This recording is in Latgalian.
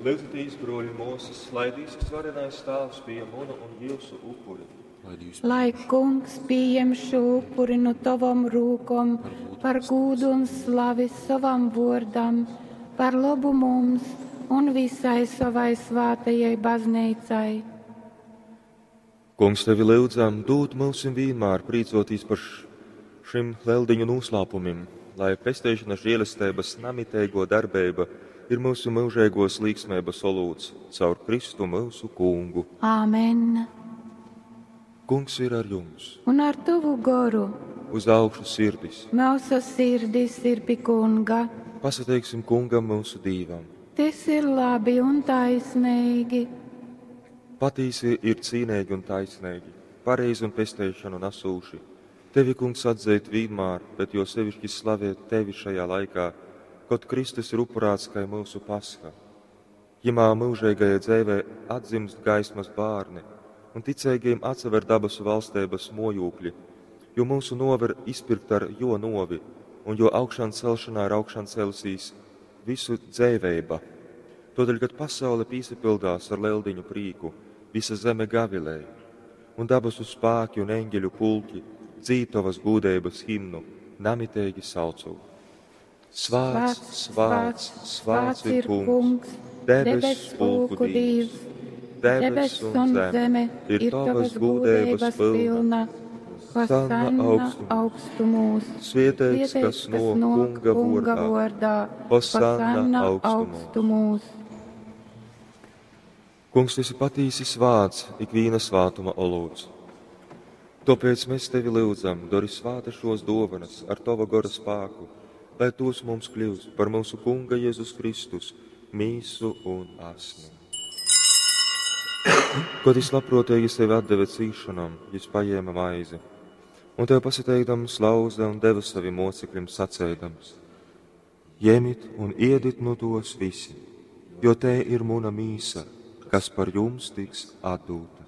Lyudzitīs, bruoļi un muosys, lai Dīvs varenais Tāvs pījem munu un jiusu upuri. Lai Dīvs Lai Kungs pījem šo upuri nu tavom rūkom par gūdu un slavi sovam vōrdam, par lobu mums un visai sovai svātajai bazneicai. Kungs, tevi lyudzam, dūd myusim vīnmār prīcōtīs par šim leldiņu nūslāpumim, lai pesteišanas žēlesteibas namiteigō darbeiba ir myusu myužeigōs līksmeibas olūts caur Kristu myusu Kungu. Āmen. Kungs ir ar jums. Un ar tavu goru Uz augšu sirdis. mūsu sirdis ir pi Kunga. Pasateiksim Kungam myusu Dīvam. Tas ir labi un taisnīgi. Patīsi ir cīneigi un taisneigi, pareizi un pesteišanu nesūši. Tevi, Kungs, atzeit vienmēr, bet jo sevišķi slavēt tevi šajā laikā, kad Kristus ir upurāts kā mūsu pasha. Jimā mūžīgajā dzīvē atdzimst gaismas bērni, un ticīgajiem atsever dabasu valstības mojūkļi, jo mūsu nover izpirkt ar jo novi, un jo augšām celšanā ir augšām celsīs visu dzēveiba. Todēļ, kad pasaule pīsapildās ar leldiņu prīku, visa zeme gavilēja, un dabasu spēki un eņģeļu pulki dzīd tavas gūdeibas himnu, namitīgi saucot. Svāts, svāts, svāts ir kungs, debesu pulku Dīvs, Debess un zeme ir tavas gūdeibas pilna. Hosanna augstumos. augstumos. Svietēts, kas no kunga kunga vordā. vordā. Hosanna augstumos. augstumos. Kungs, tu esi patīsi svāts, ikviena svātuma olūts. Tāpēc mēs tevi lūdzam, dari svāta šos dovanas ar tava gora spēku, lai tos mums kļūst par mūsu Kunga Jēzus Kristus mīsu un asni. Kad jis labprātīgi sevi atdeva cīšanām, jis paņēma maizi, un tev pasateikdams lauza un deva saviem mocekļiem sacēdams: Ņemiet un iedit no tos visi, jo te ir muna mīsa, kas par jums tiks atdota.